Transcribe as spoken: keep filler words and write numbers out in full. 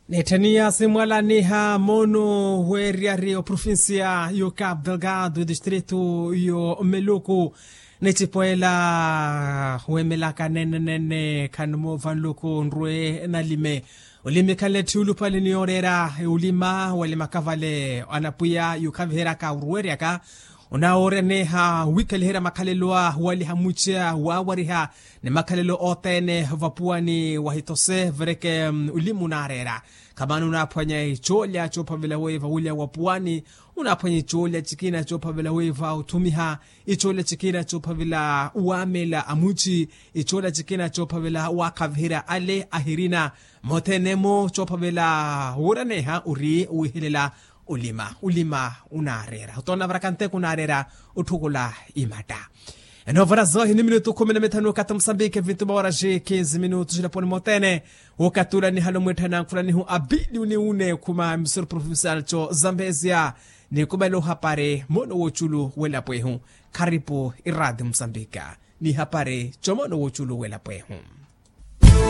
Neethaniya simwalaniha moono weeriyari oprovincia yo cabo delgado edistrito yo meluku, necipoela weemelaka nene nene khani moova nluku nrwe nalime. Olimi khanle tthi ulupale ni yooreera ulima wali makavale anapwiya yukhaviheryaka uruweryaka. Onawooreneha wikhaliherya makhalelo a waliha muciya wawariha ni makhalelo othene vapuwani wahitose vireke. Ulimi unaareera khamani unaaphwanya icoolya coophavela wiiva ulya wa puwani, unaaphwanya icoolya cikina coophavela wiiva uthumiha, icoolya cikina coophavela waamela amuci, icoolya cikina coophavela waakhaviherya ale ahirina. Mothene-mo coophavela wooreneha ori wihelela ulima ulima unaareera otoona varakante kunaareera otthukula imatta. Enoovara zoohi ni minutu khumi na mithanu okathi musambiki vintu mawarasi kinzi minutu silaponi mothene. Wokatula nihalo mwitthana nkhula nihu abili uniune khuma misuru provincial co zambezia. Nikumela ohapari mono woculu welapo ehu. Kharipu iradi musambika ni hapari co mono woculu welapo ehu.